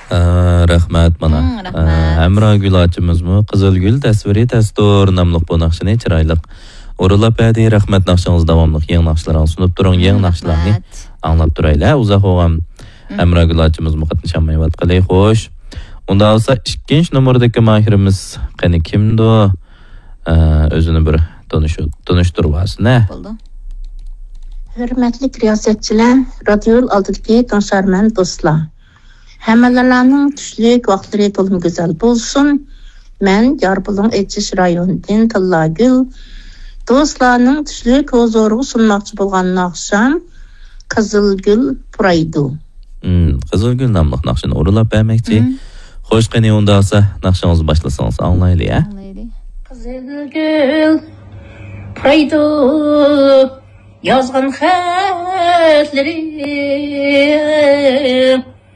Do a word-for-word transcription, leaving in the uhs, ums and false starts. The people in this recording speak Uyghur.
ئە، رەھمەت، مانا. مم، رەھمەت. ئە، ھەمراگۈل ئاچىمىزمۇ «قىزىلگۈل تەسۋىرى تەستۇر» ناملىق بۇ ناخشىنى چىرايلىق ئورۇنلاپ بەردى. رەھمەت، ناخشىڭىز داۋاملىق يېڭى ناخشىلارنى سۇنۇپ تۇرۇڭ. يېڭى ناخشىلارنى ئاڭلاپ تۇرايلى. ئۇزاق بولغان ھەمراگۈل ئاچىمىزمۇ قاتنىشالمايۋاتقىلى. خوش. ئۇنداق بولسا ئىككىنچى نومۇردىكى ماھىرىمىز قېنى كىمدۇ؟ ئە، ئۆزىنى بىر تونۇشۇ-، تونۇشتۇرۇۋالسۇن، ھە؟ بولدى. ھۆرمەتلىك رىياسەتچىلەر، رادىيو ئالدىدىكى تىڭشارمەن دوستلار. ھەممىلەرنىڭ چۈشلۈك ۋاقىتلىرى تولىمۇ گۈزەل بولسۇن. مەن يارپۇلۇڭ ئېچىش رايونىدىن تىللاگۈل. دوستلارنىڭ چۈشلۈك ھۇزۇرىغا سۇنماقچى بولغان ناخشام قىزىلگۈل پۇرايدۇ. مم، قىزىلگۈل ناملىق ناخشىنى ئورۇنلاپ بەرمەكچى. مم. خوش، قېنى ئۇنداقسا ناخشىڭىزنى باشلىسىڭىز ئاڭلايلى، ھە؟ ئاڭلايلى. قىزىلگۈل پۇرايدۇ يازغان خەتلىرىم.